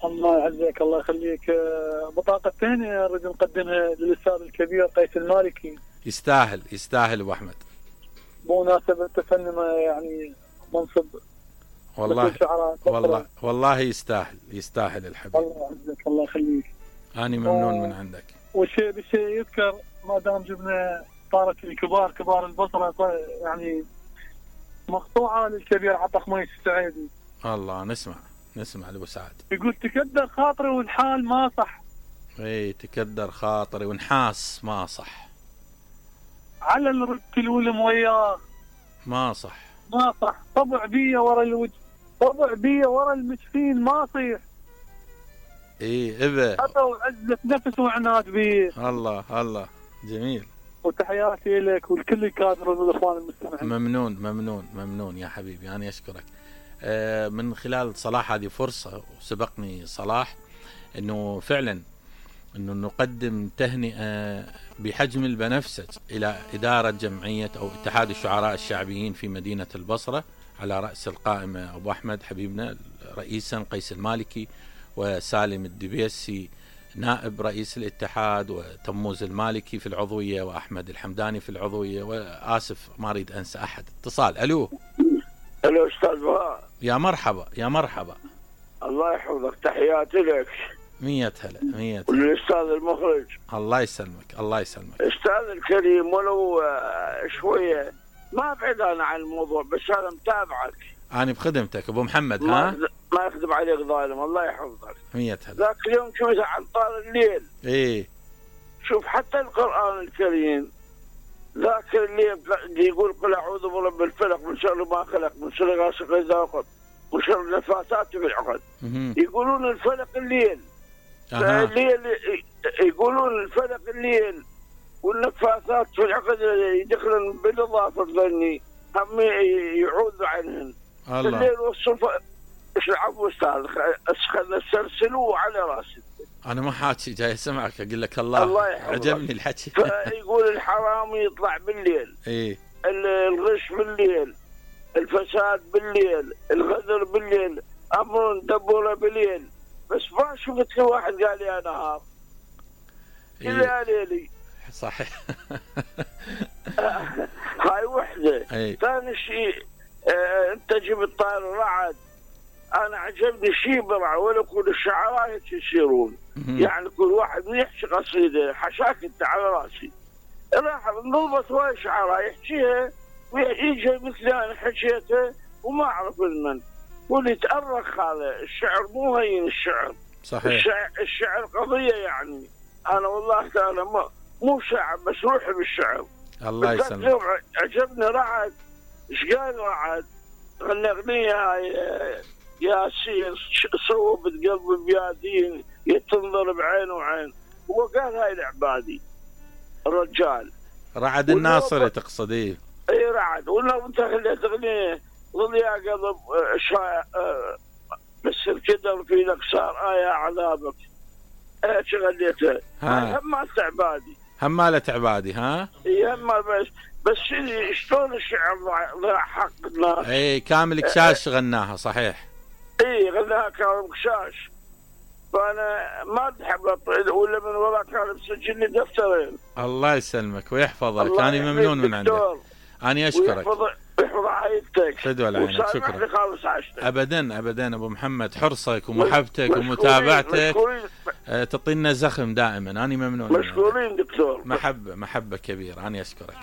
الله يعزك الله يخليك. بطاقة ثانية نريد نقدمها للأستاذ الكبير قيس المالكي. يستاهل أبو أحمد بمناسبة تفنن يعني منصب والله يستاهل الحبيب. الله يعزك الله يخليك. أنا ممنون من عندك. والشيء بالشيء يذكر ما دام جبنا طارت كبار البصرة يعني مقطوعة للكبير عبد الحميد السعيدي. الله نسمع لأبو سعد. يقول تكدر خاطري والحال ما صح. تكدر خاطري ونحاس ما صح. على الرد الولم وياه ما صح. طبع بيه ورا الوجه، طبع بيه ورا المسكين ما صيح. إبا وعزة نفس وعناد بيه. الله جميل. وتحياتي لك والكل الكادر والاخوان المستمعين. ممنون يا حبيبي. أنا أشكرك. من خلال صلاح هذه فرصة وسبقني صلاح انه فعلا انه نقدم تهنئة بحجم البنفسج الى ادارة جمعية او اتحاد الشعراء الشعبيين في مدينة البصرة، على رأس القائمة ابو احمد حبيبنا رئيسا، قيس المالكي، وسالم الدبيسي نائب رئيس الاتحاد، وتموز المالكي في العضوية، واحمد الحمداني في العضوية، واسف ما اريد انسى احد. اتصال. الو استاذ بهاء. يا مرحبا. الله يحفظك، تحياتي لك. 100 هلا. والاستاذ المخرج. الله يسلمك. استاذ الكريم، ولو شويه ما ابعد انا عن الموضوع، بس انا متابعك. انا بخدمتك ابو محمد. ها ما يخدم عليك ظالم. الله يحفظك. 100 هلا. ذاك اليوم شفت عن طار الليل. شوف حتى القرآن الكريم ذاك اللي يقول قل اعوذ برب الفلق من شر ما خلق من شر غاسق اذا وقب من شر النفاثات في العقد. يقولون الفلق الليل. يقولون الفلق الليل والنفاثات في العقد يدخلن بالاضافه الظني هم يعوذوا عنهن. الليل والصبح ايش العفو استاذ، خلنا نسلسلوه على راسي. انا ما حاكي جاي اسمعك اقول لك الله عجبني الحكي. فيقول الحرام يطلع بالليل. الغش بالليل، الفساد بالليل، الغدر بالليل، امر دبوره بالليل. بس ما شفت واحد قال يا نهار الا ليلي. صحيح. هاي وحده. ثاني شيء انت جبت طائر الرعد. انا عجبني شيء برع، ولا كل الشعراء هيك يصيرون. يعني كل واحد يحكي قصيده حشاك انت على راسي. راح نضبط هواي شعراء يحكيها ويجي مثل انا حكيتها وما اعرف من. واللي يتأرخ هذا الشعر مو هين الشعر. صحيح. الشعر قضيه يعني. انا والله تعالى مو شاعر بس روحي بالشعر. الله يسلمك. عجبني رعد. ايش قال رعد؟ غنى اغنيه هاي ياسين صوبت قلبي بيادين يتنظر بعين وعين. هو قال هاي العبادي الرجال رعد الناصري تقصد؟ اي رعد. ولو انت خليت اغنيه ظل يا قلب بس الكدر في لك صار يا عذابك. ايش غنيتها؟ همالة عبادي. همالة عبادي. ها بس شلون الشعر ضاع حق الناس. كامل كشاش غناها. صحيح. غناها كامل كشاش. فانا ما احب ولا من وراء كان مسجلني دفترين. الله يسلمك ويحفظك. انا ممنون من عندك. انا اشكرك. يحفظ عائلتك. فدوى لعينك. شكرا. ابدا ابو محمد، حرصك ومحبتك ومتابعتك تعطينا زخم دائما. انا ممنون. مشكورين دكتور. محبه كبيره. انا اشكرك.